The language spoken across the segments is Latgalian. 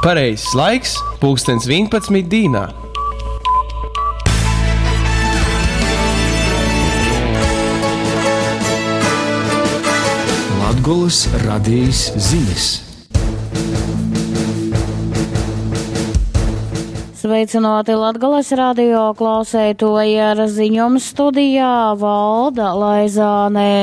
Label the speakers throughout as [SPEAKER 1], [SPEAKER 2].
[SPEAKER 1] Pareizais laiks - pulkstens 11 dīnā.
[SPEAKER 2] Latgolys radejis zinis.
[SPEAKER 3] Sveicināti Latgales radio klauseitoji ar ziņom studijā Valda Laizānē.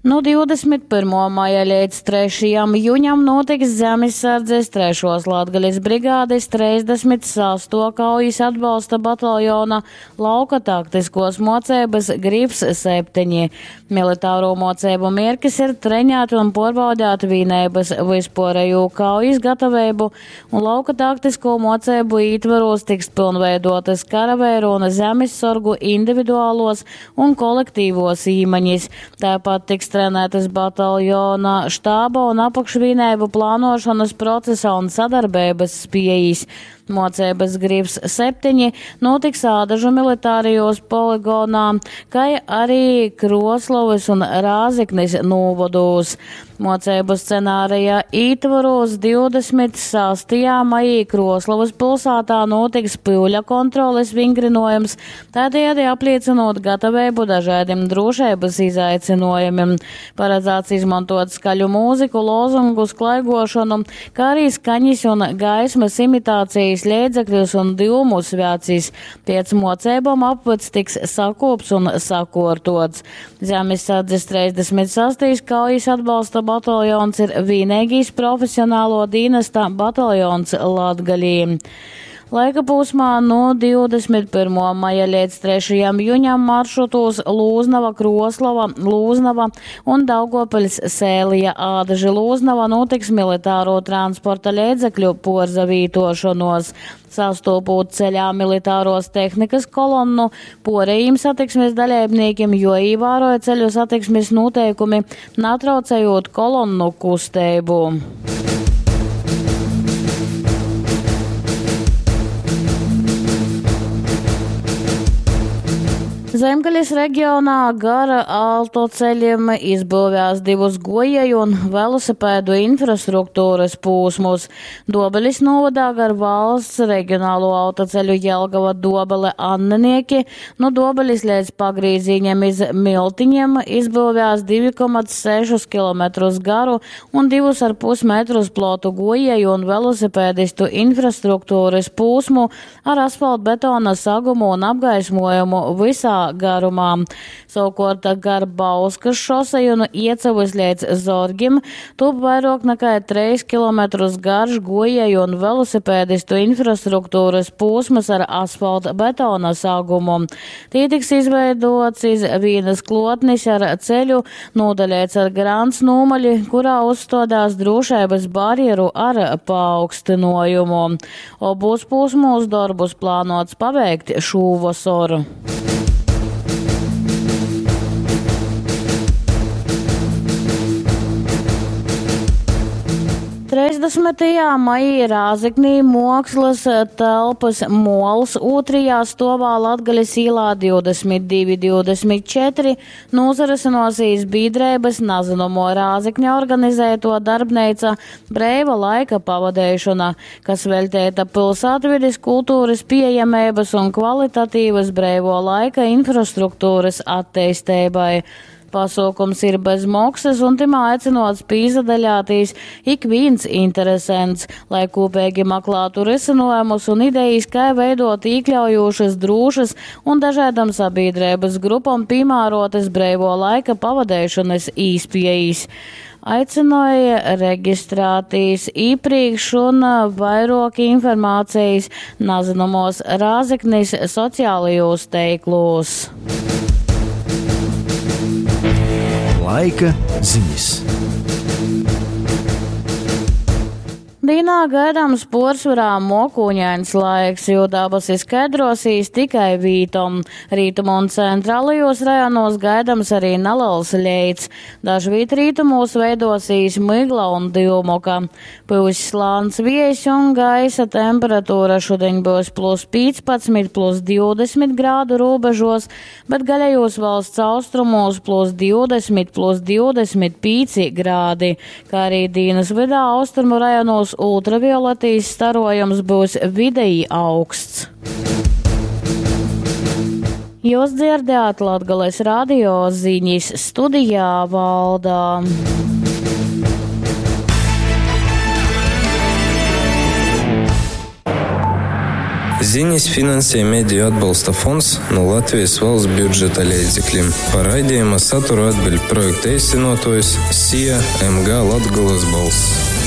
[SPEAKER 3] Nu 21. maja līdz 3. juņam notiks Zemessardzes 3. Latgales brigādes 36. kaujas atbalsta bataljona lauka taktiskos mocības Grifs 7. Militāro mocību mierkis ir treņāt un porbaudāt vīnēbas visporējo kaujas gatavību un lauka taktisko mocību ītvaros tiks pilnveidotas karavēru un zemessorgu individuālos un kolektīvos īmaņas. Tāpat tiks trenētas bataljona štāba un apakšvīnēbu plānošanas procesa un sadarbības spējas. Mocības Grifs 7 notiks Ādažu militārijos poligonā, kā arī Kroslovas un Rāzeknis novados. Mocību scenārija ītvaros 26. maijī Kroslovas pilsētā notiks pīļa kontroles vingrinojums, tādējādi apliecinot gatavību dažādiem drošības izaicinājumiem. Paredzēts izmantot skaļu mūziku, lozungus, klaigošanu, kā arī skaņas un gaismas imitācijas līdzekļus un dūmu svēcis. Pēc mocībām apvads tiks sakops un sakortots. Zemesardzes 36. kaujas atbalsta bataljons ir vienīgais profesionālo dienesta bataljons Latgalī. Laika posmā no 21. maija līdz 3. juņam maršrutos Lūznava, Kroslava, Lūznava un Daugopils Sēlija Ādaži Lūznava notiks militāro transporta līdzekļu porzavītošanos. Sastopot ceļā militāros tehnikas kolonnu, porējiem satiksmes dalībniekiem, jo ievēroja ceļu satiksmes noteikumi, natraucējot kolonnu kustību. Zemgaļas reģionā gara autoceļiem izbūvēs divus gojēju un velosipēdu infrastruktūras pūsmus. Dobelis novadā gar valsts reģionālo autoceļu Jelgava Dobele Annenieki, no Dobelis līdz pagrīziņam iz Miltiņiem izbūvēs 2,6 km garu un 2,5 metrus plotu gojēju un velosipēdistu infrastruktūras pūsmu ar asfaltbetona sagumu un apgaismojumu visā garumā. Savukārt gar Bauskas šoseju un Iecavas līdz Zorgim top vairāk nekā 3 km garš gojēju un velosipēdistu infrastruktūras posms ar asfalta betona sagumu. Tī tiks izveidots iz vienas klotnis ar ceļu, nodaļēts ar grants nūmaļi, kurā uzstādās drošības barjeru ar paaugstinājumu. Obos posmos darbus plānots pabeigt šūvasaru. 30. maijā Rāzeknī mākslas telpas Mols otrajā stovā Latgales īlā 22.24 nozarasinosīs biedrības Nazinomo Rāzekņa organizēto darbneica Breiva laika pavadēšana, kas veltēta pilsētvides kultūras pieejamības un kvalitatīvas breivo laika infrastruktūras attīstībai. Pasaukums ir bez maksas un timā aicinots pīzadaļātīs ik viens interesants, lai kopīgi meklētu risinājumus un idejas, kā veidot iekļaujošas, drūšas un dažādam sabiedrības grupam piemērotas breivo laika pavadēšanas īspējas. Aicināja reģistrēties iepriekš un vairāk informācijas nazinumos Rāzeknis sociālajos teiklos.
[SPEAKER 2] Laika ziņas.
[SPEAKER 3] Dīnā gaidāms puorsvorā muokūņains laiks, jo dabasi skaidrosīs tikai vītom. Rītumu un centrālajos rajonos gaidams arī neliels leits. Dažvīt rītumos veidosīs mygla un dyumuka. Pyuss lāns viejs un gaisa temperatūra šodien būs plus 15, plus 20 grādu robežos, bet gaļējos valsts austrumos plus 20, plus 25 grādi, kā arī dienas vidā austrumu rajonos ultravioletīs starojums būs videji augsts. Jūs dzirdējāt Latgales radio ziņas studijā Valdā.
[SPEAKER 4] Ziņas finansē Mediju atbalsta fonds no Latvijas valsts budžeta līdzekļiem. Par raidījuma saturu atbild projekta īstenotājs SIA MG Latgolas balss.